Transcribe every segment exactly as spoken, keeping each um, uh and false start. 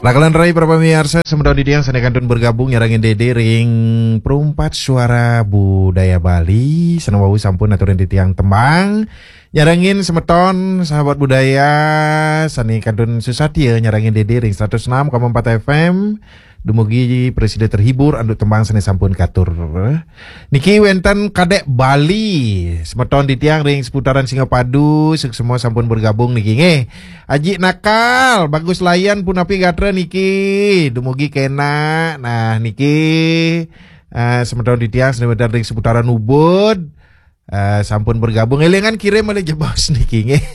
Rakalan rai para pamiarsa, semeton titiang sane kantun bergabung nyarengin Dede ring Perumpat Suara Budaya Bali, sane wau sampun aturin titiang tembang. Nyarengin semeton sahabat budaya sane kantun susatia nyarengin Dede ring seratus enam koma empat F M. Dumugi prasida terhibur antuk tembang sane sampun katur. Niki wenten Kadek Bali, semeton titiang ring seputaran Singapadu, suksma sampun bergabung niki nggih. Aji Nakal, Bagus Layan punapi gatra niki, dumugi kena. Nah, niki, eh, semeton titiang sane wenten ring seputaran Ubud, eh, sampun bergabung. Elingan kirim malih jebos niki nggih.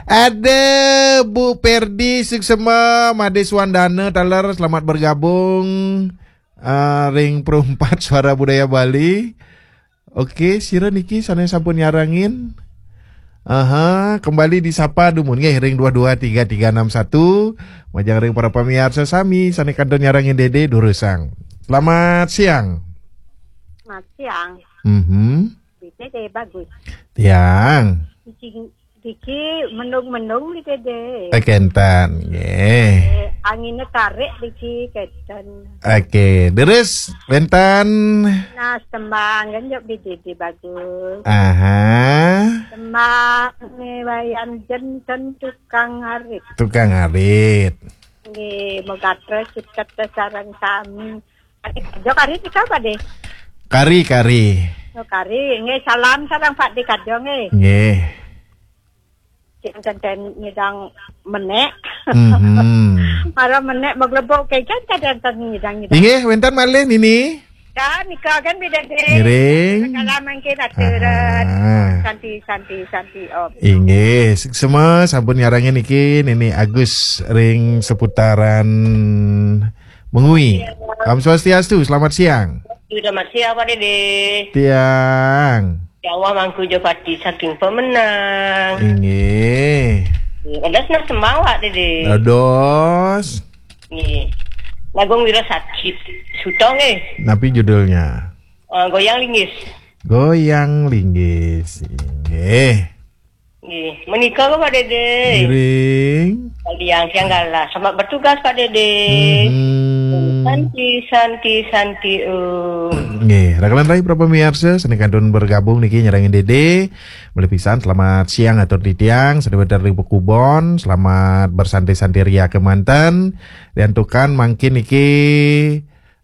Ada Bu Perdi suksma, Made Suandana taler, selamat bergabung, eh, ring Perumpat Suara Budaya Bali. Oke, sira niki sane sampun nyarengin. Aha, kembali disapa dumun nggih ring dua dua tiga tiga enam satu. Majeng ring para pamiarsa sami sane kantun nyarengin Dede durusang. Selamat siang. Selamat siang. Mhm. Dede Bagus. Tiang. Diki, diki mendung-mendung Beli Dede. Eh, kenten, nggih. Eh, angine tarik diki kenten. Oke, deres wenten. Nah, tembang kan jok Beli Dede Bagus. Aha. Tembang ne Wayan Jenten tukang arit. Tukang arit. Nggih, megatra ciket sareng sami. Ade kajo kari nika apa deh? Kari, kari. Oh, kari. Nggih, salam sareng Pak De kajo nggih. Nggih. Janten nyidang menek. Mhm. Para menek maglebok ke janten nyidang-nyidang. Inggih, wenten malih Nini. Ya, nika kan Beli Dede. Ngiring. Salam mangkin aturan. Aha. Santi, santi, santi, Om. Inggih, suksma sampun nyarengin niki Nini Agus ring seputaran Mengwi. Om Swastiastu, selamat siang. Selamat siang, Pak Dede. Tiang. Jawa Mangku Jopati saking Pemenang. Inggih. Ada senang sembang, Pak Dede. Dados. Nggih. Lagung Wira Sakit. Sutong, eh. Napi judulnya? Eh, Goyang Linggis. Goyang Linggis. Inggih. Nggih, menika kok, Pak Dede. Ngiring. Kalian siang galah. Selamat bertugas, Pak Dede. Mhm. Santi, santi, santi, um. Nggih, rakalan rai para pamiarsa, sane kantun bergabung niki nyarengin Dede. Malih pisan, selamat siang atur titiang, sane wenten ring Pekubon, selamat bersantai-santai ria kemanten. Diantukan mangkin niki,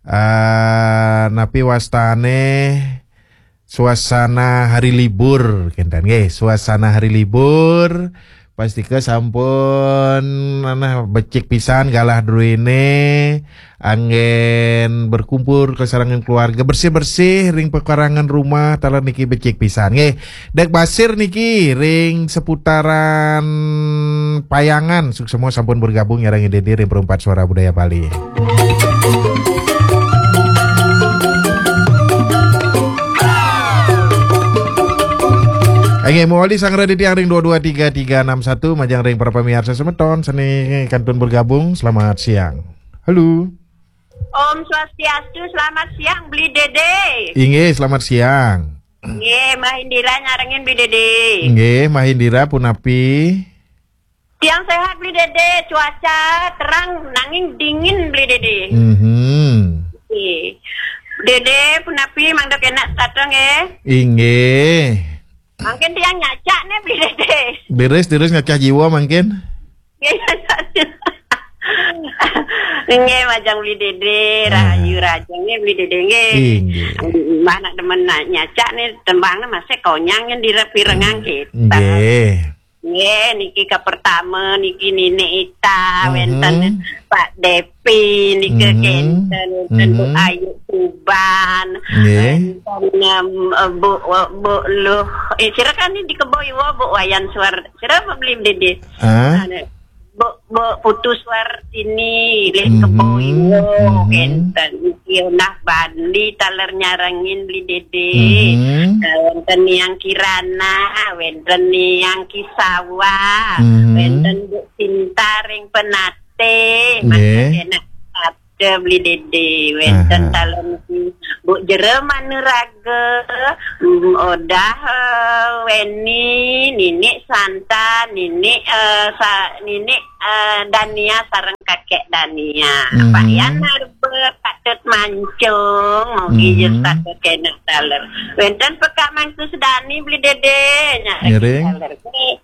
eh, napi wastane, suasana hari libur, kenten nggih, suasana hari libur, pastika sampun, nah, becik pisan galah druene, anggen berkumpul kasarengan keluarga, bersih-bersih ring pekarangan rumah, taler niki becik pisan nggih. Dek Basir niki ring seputaran Payangan, suksma sampun bergabung nyarengin Dede ring Perumpat Suara Budaya Bali. Nggih, mawali sanggra titiang ring dua dua tiga tiga enam satu, majeng ring para pamiarsa semeton sane kantun bergabung. Selamat siang. Halo. Om Swastiastu, selamat siang, Beli Dede. Inggih, selamat siang. Nggih, Mbah Indira nyarengin Beli Dede. Nggih, Mbah Indira punapi? Tiang sehat, Beli Dede. Cuaca terang, nanging dingin, Beli Dede. Mhm. Nggih. Dede punapi, mangda kenak setata, nggih? Inggih. Mangkin tiang nyacak nih, Beli Dede. Deres, deres ngacah jiwa mangkin? Nggih, majeng Beli Dede, ah, rahayu rahayu nggih Beli Dede nggih. Inggih. Mbah nak demen na-, nyacak nih tembangnya masih konyang yang direpirengang kita. Nggih. Nggih, niki ke pertama niki Nini Ita, mhm, wenten Pak Depi, niki, mhm, kenten, wenten Bu, mhm, Ayu Tuban, nggih, wenten, em, eh, Bu, Bu Luh, eh, sira kan ini di Kebo Iwa, Bu Wayan Suar, sira apa Beli Dede? Ah? Anu, Bu, Bu Putu Suartini, Lih, mhm, Kebo Iwa, mhm, kenten. Niki Nah Bandi taler nyarengin Beli Dede. Mhm. Eh, wenten Niang Kirana, wenten Niang Kisawa, mhm, wenten Bu Sinta ring Penate, nggih, mangkin enak sabda Beli Dede, wenten, aha, taler niki Bu Jero Manuraga, mm, Odah, eh, Weni, Ninik Santa, Ninik, eh, sa, Ninik, eh, Dania sareng Kakek Dania. Mhm. Pak Yan Arba, Pak Tut Mancung, mogi Mhm. Jus Pak Tut kena taler. Wenten pekak Mangku Sedani beli dede, nyareng Ngiring. Taler.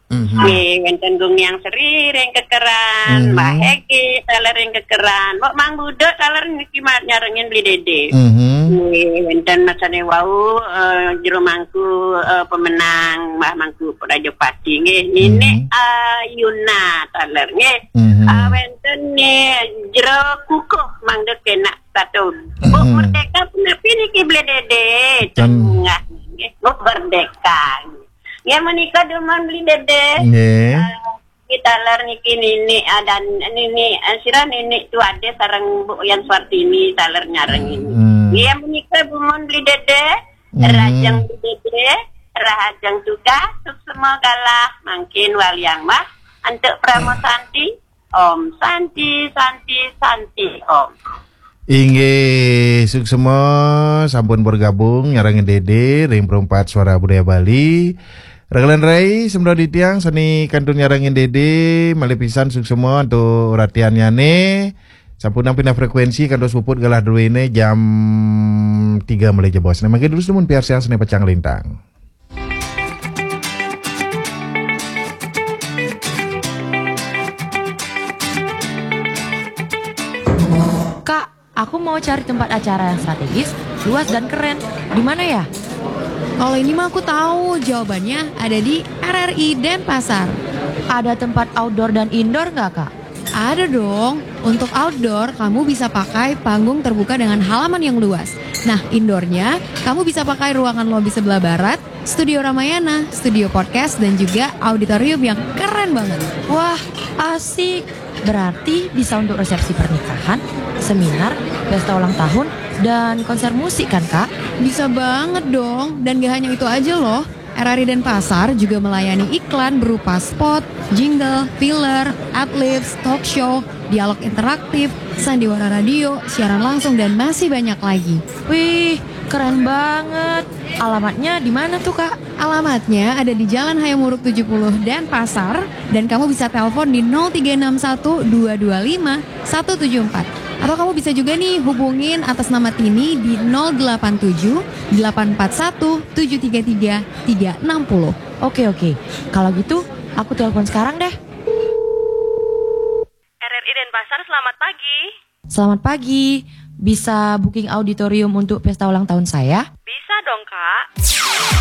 Mhm. Nggih, wenten Gung Yang Seri ring kekeran, Mhm. Mbah Hegi taler ring kekeran. Mbok Mang Budut taler niki ma-, nyarengin beli dede. Mhm. Nggih, wenten masane wau, eh, jero mangku, eh, pemenang, Mbah Mangku Prajapati nggih. Ninik Mhm. Ayuna taler nggih. Mhm. Eh, wenten nih jero kukuh mangda kenak satu. Bu Mhm. Merdeka punapi niki beli dede? Ten- Tengah nggih. Bu Merdeka. Ya menika dumun beli dede. Nggih. Eh, kita ler niki nini, ah, dan nini, eh, sira nini tu ada sareng Bu Yan Suartini taler nyareng ini. Hmm. Ya menika dumun beli dede. Hmm. Rahajeng beli dede, rahajeng tugas, suksema galah, mangkin waliang mah, antuk Parama Santi, Om Santi, Santi, Santi, Om. Inggih, suksema sampun bergabung nyarengin Dede ring Perempat Suara Budaya Bali. Rekan-rekan rai, semedal titiang sane kantun nyarengin Dede, malih pisan suksema antuk ratiannyane. Sampunang pindah frekuensi kantos puput galah druene jam tiga malih jebos. Nah, mangkin durus dumun piarsang sane pacang lintang. Kak, aku mau cari tempat acara yang strategis, luas dan keren. Di mana ya? Kalau ini mah aku tahu, jawabannya ada di R R I Denpasar. Ada tempat outdoor dan indoor nggak, Kak? Ada dong. Untuk outdoor, kamu bisa pakai panggung terbuka dengan halaman yang luas. Nah, indoornya, kamu bisa pakai ruangan lobi sebelah barat, studio Ramayana, studio podcast, dan juga auditorium yang keren banget. Wah, asik. Berarti bisa untuk resepsi pernikahan, seminar, pesta ulang tahun, dan konser musik kan, Kak? Bisa banget dong. Dan gak hanya itu aja loh. R R I Denpasar juga melayani iklan berupa spot, jingle, filler, adlibs, talk show, dialog interaktif, sandiwara radio, siaran langsung, dan masih banyak lagi. Wih, keren banget. Alamatnya di mana tuh, Kak? Alamatnya ada di Jalan Hayam Wuruk tujuh puluh Denpasar, dan kamu bisa telepon di nol tiga enam satu dua dua lima satu tujuh empat. Atau kamu bisa juga nih hubungin atas nama Tini di nol delapan tujuh delapan empat satu tujuh tiga tiga tiga enam puluh. Oke, oke. Kalau gitu, aku telepon sekarang deh. R R I Denpasar, selamat pagi. Selamat pagi. Bisa booking auditorium untuk pesta ulang tahun saya? Bisa dong, Kak.